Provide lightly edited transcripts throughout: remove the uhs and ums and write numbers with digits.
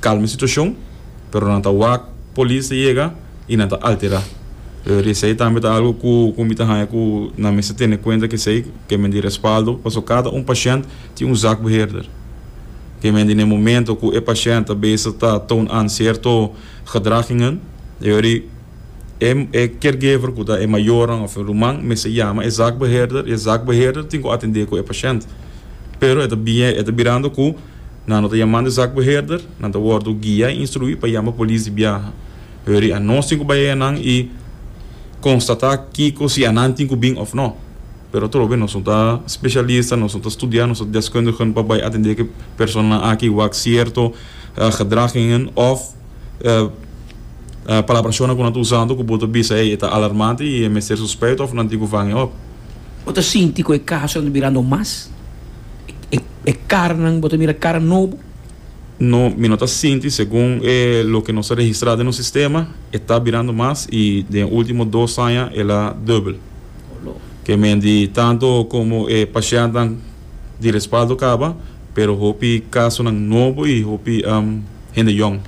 kalma e situashon, pero nan ta wak polis ta yega i nan ta alterá. Pero esei tambe ta algu ku ku mi ta haña ku nan mester tene kuenta ku esei ke men di respaldo, pasobra kada un pashènt tin un zakbeheerder. Ke men di na e momento ku e pashènt ta bezig ta toon aan sierto gedragingen, e ora e e caregiver ku ta e mayornan òf e ruman mester yama e zakbeheerder i e zakbeheerder tin ku atendé ku e pashènt. Pero e ta bien e ta birando ku nan no ta yamando e zakbeheerder, nan ta wòrdu guia i instruí pa yama polis di biaha. Hori anos tin ku bai enan i konstatá kiko si anan tin ku bin òf no. Pero atrobe nos no ta spesialista, nos no ta studiá, nos no ta deskundigen pa bai atendé ku e personanan aki wak sierto gedragingen òf palabrashonnan ku nan ta usando ku bo ta bisa ey e ta alarmante i e mester suspèit òf nan tin ku vang e òp. Bo ta sinti ku e kasonan ta birando mas? E karanan bo ta mira kara nobo? No, mi no ta sinti, segun e loke nos a registrá den nos sistema, e ta birando mas i den e último dos aña el a dùbel. Ke men di tanto komo e pashèntnan di respaldo kaba, pero hopi kasonan nobo i hopi hende yòn,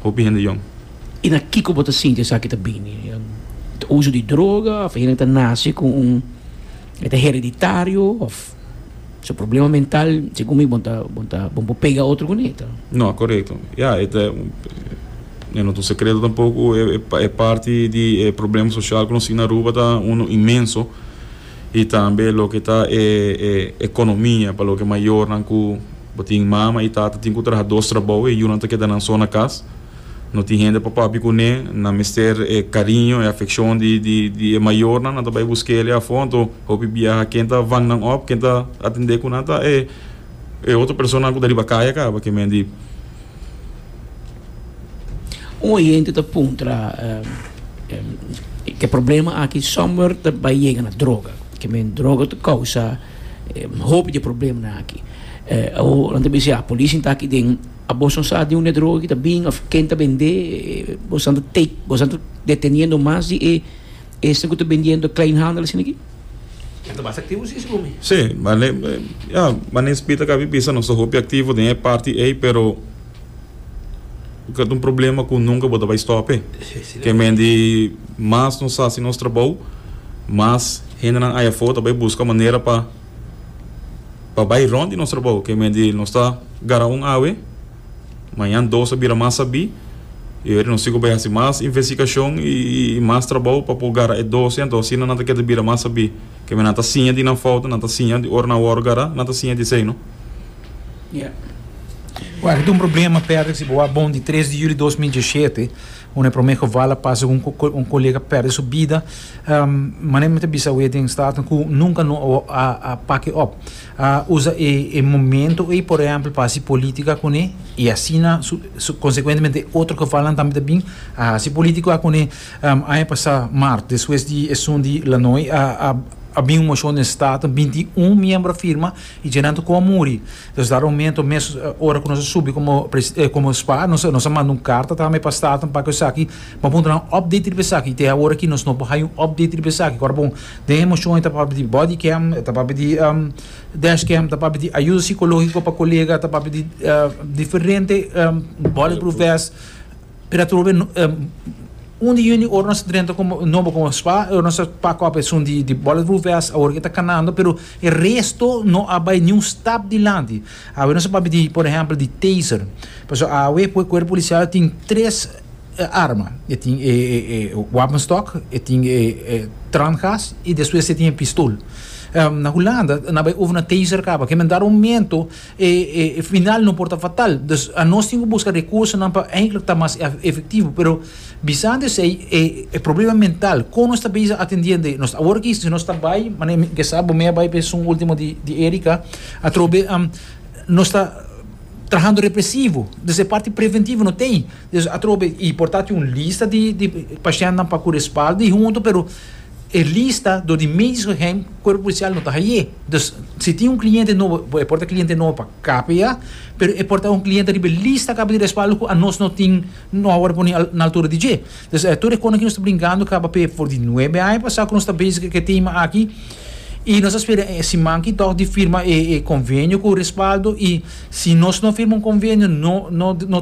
hopi hende yòn. I na kiko bo ta sinti esaki ta bini? Ta uso di droga òf hende ta nase ku un, e ta hereditario òf? Su problema mental, segun mi, bon ta, bon ta, bon por pega otro kuné ta. No, korekto. Ya, e ta, e no ta un sekreto tampoko, e e parti di e problema sosial ku nos tin na Aruba ta uno inmenso i tambe loke ta e e ekonomia pa loke mayornan ku bo tin mama i tata tin ku traha dos trabou e yunan ta keda nan so na kas. No tin hende pa papia kuné, nan mester e kariño, e afekshon di di di e mayornan, nan ta bai busk'é el afó, anto hopi biaha ken ta vang nan òp, ken ta atendé ku nan ta e e otro personanan ku ta riba kaya kaba, ke men di. Un oyente ta puntra ke problema aki somewhere ta bai yega na droga, ke men droga ta kousa hopi di e problemanan aki. Awor nan ta bisa ya polis ta aki den. A boso no sa di unda e droga aki ta bin of ken ta bendé? Boso ta take, boso ta deteniendo mas di e esnan ku ta bendiendo kleinhandel asina aki? Nan ta mas aktivo si, segun mi. Sí, mane, ya, mane Speed a kabi bisa nos ta hopi aktivo den e parti ei, pero ku ta un problema ku nunka bo ta bai stòp e. Ke men di mas nos hasi nos trabou, mas hendenan aya afó ta bai buska manera pa. Pa bai rond di nos trabou, ke men di nos ta gara un awe, mañan dos a bira mas sabí, i ora nos tin ku bai hasi mas investigashon i mas trabou pa por gara e dos, anto asina nan ta keda bira mas sabí. Ke men nan ta siña di nan fouta, nan ta siña di ora nan wòrdu gara, nan ta siña di esei, no? Wak, e ta un problema, Patrick, si bo wak bon, di tres di juli 2017, Unda e prome geval a pasa ku un kolega perde su bida. Manera mi ta bisa awe den Staten ku nunka no a pak e op. A usa e momento ei por ehempel pa hasi politica kuné i asina konsekuentemente e otro gevalnan tambe ta bin a hasi politica kuné. Aña pasa mart despues di esun di Lanoy a bin un moshon den Staten 21 miembro a firma i dje nan ta ku a muri. Dus dado momento mes ora ku nos a subi komo komo spa nos nos a manda un karta tambe pa Staten pa ku esaki pa puntra nan update riba esaki te awor aki nos no por haya un update riba esaki ora bon den e moshon e ta papia di body cam e ta papia di dashcam ta papia di ayuda psikologiko pa kolega ta papia di diferente bulletproof vest. Pero atrobe un di juni ora nos a drenta como nobo como spa ora nos a pak op esun di di bulletproof vest awor ke ta kanando pero e resto no a bai niun stap dilanti. Awe nos a papia di por ehempel di taser pasobra awe kuerpo polisial tin tres arma e tin e e wapenstok e tin e trangas y despues e tin e pistol. Na Hulanda nan a bai over na taser kaba ke men dado momento E final no por ta fatal. Dus anos tin ku buska rekursonan pa eindelijk ta mas efektivo. Pero bisando esei, e problema mental, kon nos ta bezig atendiendo ei? Nos awor aki si nos ta bai, manera mi ke sa bo mi a bai pa esun ultimo di Erika, atrobe nos ta trahando represivo. Dus e parti preventivo no t'ei. Dus atrobe i por ta tin un lista di pashèntnan pa ku respaldo i huntu, pero E lista dor di medisch geheim cuerpo policial no ta haye. Dus si tin un cliente nobo, e por ta cliente nobo pa KPA, pero e por ta un cliente riba e lista caba di respaldo cu anos no tin, no a worde poni na altura di dje. Dus tur e cosnan aki nos ta brincando caba p'e for di nuebe aña pasa cu nos ta bezig cu e tema aki y nos ta spera e siman aki toch di firma e convenio cu respaldo y si nos no firma un convenio no no no.